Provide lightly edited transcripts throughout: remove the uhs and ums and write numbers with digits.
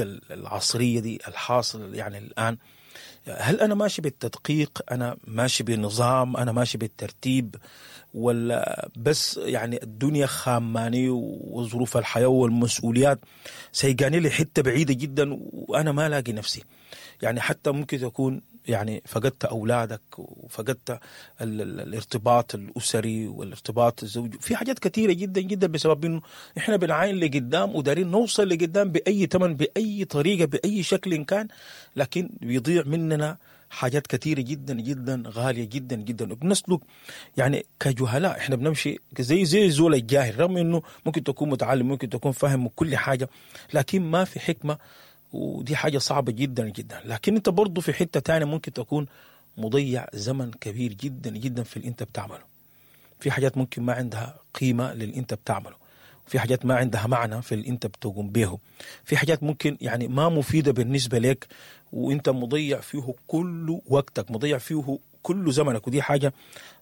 العصرية دي الحاصل يعني الآن، هل أنا ماشي بالتدقيق، أنا ماشي بنظام، أنا ماشي بالترتيب، ولا بس يعني الدنيا خاماني وظروف الحياة والمسؤوليات سيقاني لحتة بعيدة جدا وأنا ما لاقي نفسي؟ يعني حتى ممكن تكون يعني فقدت أولادك وفقدت الارتباط الأسري والارتباط الزوجي، في حاجات كثيرة جدا جدا بسبب إنه إحنا بنعاين لقدام ودارين نوصل لقدام بأي ثمن، بأي طريقة، بأي شكل كان، لكن بيضيع مننا حاجات كثيرة جدا جدا غالية جدا جدا، وبنسلك يعني كجهلاء. احنا بنمشي زي زول الجاهل، رغم انه ممكن تكون متعلم، ممكن تكون فاهم كل حاجة، لكن ما في حكمة، ودي حاجة صعبة جدا جدا. لكن انت برضو في حتة تانية ممكن تكون مضيع زمن كبير جدا جدا في اللي انت بتعمله. في حاجات ممكن ما عندها قيمة للي انت بتعمله، في حاجات ما عندها معنى في اللي انت بتقوم به، في حاجات ممكن يعني ما مفيدة بالنسبة لك وانت مضيع فيه كل وقتك، مضيع فيه كل زمنك، ودي حاجة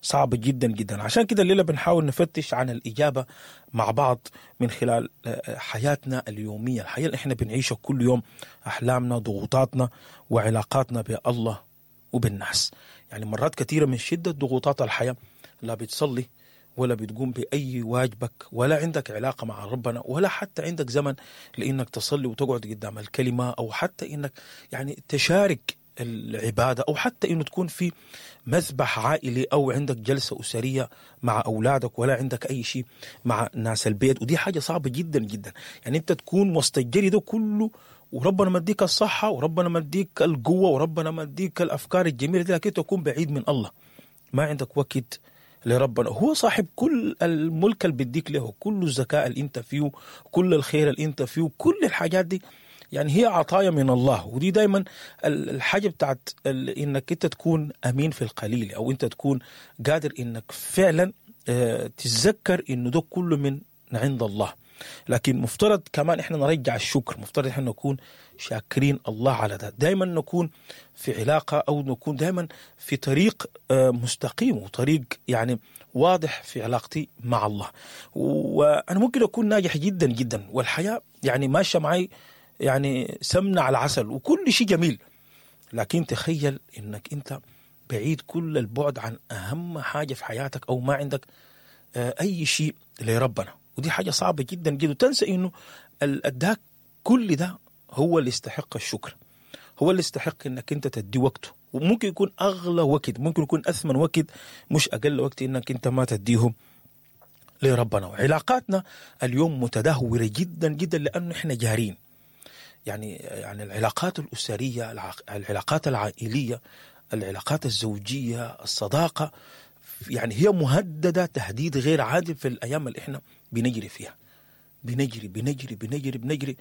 صعبة جدا جدا. عشان كده الليلة بنحاول نفتش عن الإجابة مع بعض من خلال حياتنا اليومية، الحياة اللي احنا بنعيشها كل يوم، أحلامنا، ضغوطاتنا، وعلاقاتنا بالله وبالناس. يعني مرات كثيرة من شدة ضغوطات الحياة لا بتصلي ولا بتقوم بأي واجبك، ولا عندك علاقة مع ربنا، ولا حتى عندك زمن لإنك تصلي وتقعد قدام الكلمة، أو حتى إنك يعني تشارك العبادة، أو حتى إنه تكون في مذبح عائلي، أو عندك جلسة أسرية مع أولادك، ولا عندك أي شيء مع ناس البيت. ودي حاجة صعبة جدا جدا، يعني أنت تكون وسط الجري ده كله وربنا مديك الصحة، وربنا مديك القوة، وربنا مديك الأفكار الجميلة دي، لكن تكون بعيد من الله، ما عندك وقت لربنا. هو صاحب كل الملك اللي بيديك له، كل الذكاء اللي انت فيه، كل الخير اللي انت فيه، كل الحاجات دي يعني هي عطايا من الله. ودي دايما الحاجة بتاعت انك انت تكون امين في القليل، او انت تكون قادر انك فعلا تتذكر انه ده كله من عند الله. لكن مفترض كمان احنا نرجع الشكر، مفترض احنا نكون شاكرين الله على ده، دايما نكون في علاقة، او نكون دايما في طريق مستقيم وطريق يعني واضح في علاقتي مع الله. وانا ممكن اكون ناجح جدا جدا والحياة يعني ماشية معي يعني سمنة على العسل وكل شيء جميل، لكن تخيل انك انت بعيد كل البعد عن اهم حاجة في حياتك، او ما عندك اي شيء لربنا، ودي حاجة صعبة جدا جدا. وتنسى انه اداك كل ده هو اللي يستحق الشكر، هو اللي يستحق انك انت تدي وقته، وممكن يكون اغلى وقت، ممكن يكون اثمن وقت، مش اقل وقت انك انت ما تديه لربنا. وعلاقاتنا اليوم متدهورة جدا جدا لانه احنا جارين، يعني العلاقات الأسرية، العلاقات العائلية، العلاقات الزوجية، الصداقة، يعني هي مهددة تهديد غير عادل في الأيام اللي احنا بنجري فيها. بنجري بنجري بنجري بنجري،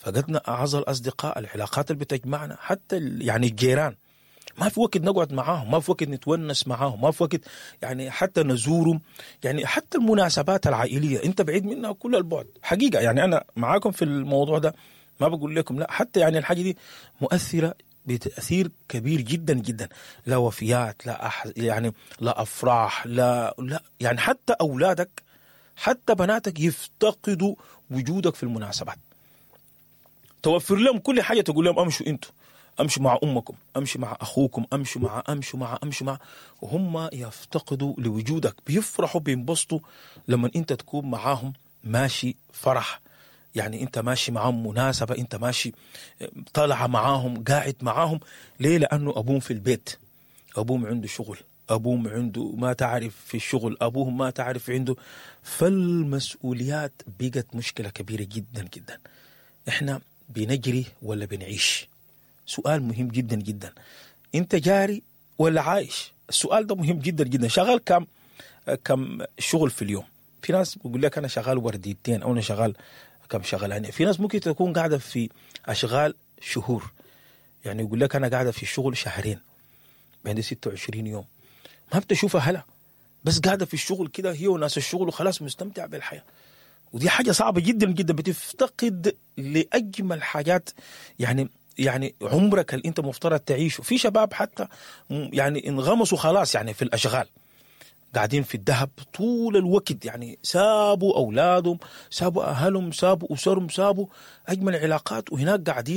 فقدنا أعز الأصدقاء، العلاقات اللي بتجمعنا، حتى يعني الجيران ما في وقت نقعد معاهم، ما في وقت نتونس معاهم، ما في وقت يعني حتى نزورهم، يعني حتى المناسبات العائلية انت بعيد منها كل البعد حقيقة. يعني أنا معاكم في الموضوع ده، ما بقول لكم لا، حتى يعني الحاجة دي مؤثرة بتأثير كبير جدا جدا، لا وفيات، لا يعني لا أفراح، لا لا، يعني حتى أولادك، حتى بناتك يفتقدوا وجودك في المناسبات. توفر لهم كل حاجة، تقول لهم أمشوا أنتوا، أمشوا مع أمكم، أمشوا مع أخوكم، أمشوا مع أمشوا مع أمشوا مع، وهم يفتقدوا لوجودك، بيفرحوا بينبسطوا لما أنت تكون معاهم ماشي فرح، يعني انت ماشي معاهم مناسبة، انت ماشي طالعة معاهم، قاعد معاهم. ليه؟ لأنه أبوهم في البيت، أبوهم عنده شغل، أبوهم عنده ما تعرف في الشغل، أبوهم ما تعرف عنده. فالمسؤوليات بقت مشكلة كبيرة جدا جدا. احنا بنجري ولا بنعيش؟ سؤال مهم جدا جدا. انت جاري ولا عايش؟ السؤال ده مهم جدا جدا. شغال كم شغل في اليوم؟ في ناس بيقول لك أنا شغال ورديتين، أو أنا شغال كم شغلانة. في ناس ممكن تكون قاعدة في أشغال شهور، يعني يقول لك أنا قاعدة في الشغل شهرين، عندي 26 يوم، ما بتشوفها هلا، بس قاعدة في الشغل كده هي وناس الشغل وخلاص مستمتع بالحياة. ودي حاجة صعبة جدا جدا، بتفتقد لأجمل حاجات يعني عمرك اللي أنت مفترض تعيشه. في شباب حتى يعني انغمسوا خلاص يعني في الأشغال، قاعدين في الدهب طول الوقت، يعني سابوا اولادهم، سابوا اهلهم، سابوا اسرهم، سابوا اجمل علاقات، وهناك قاعدين.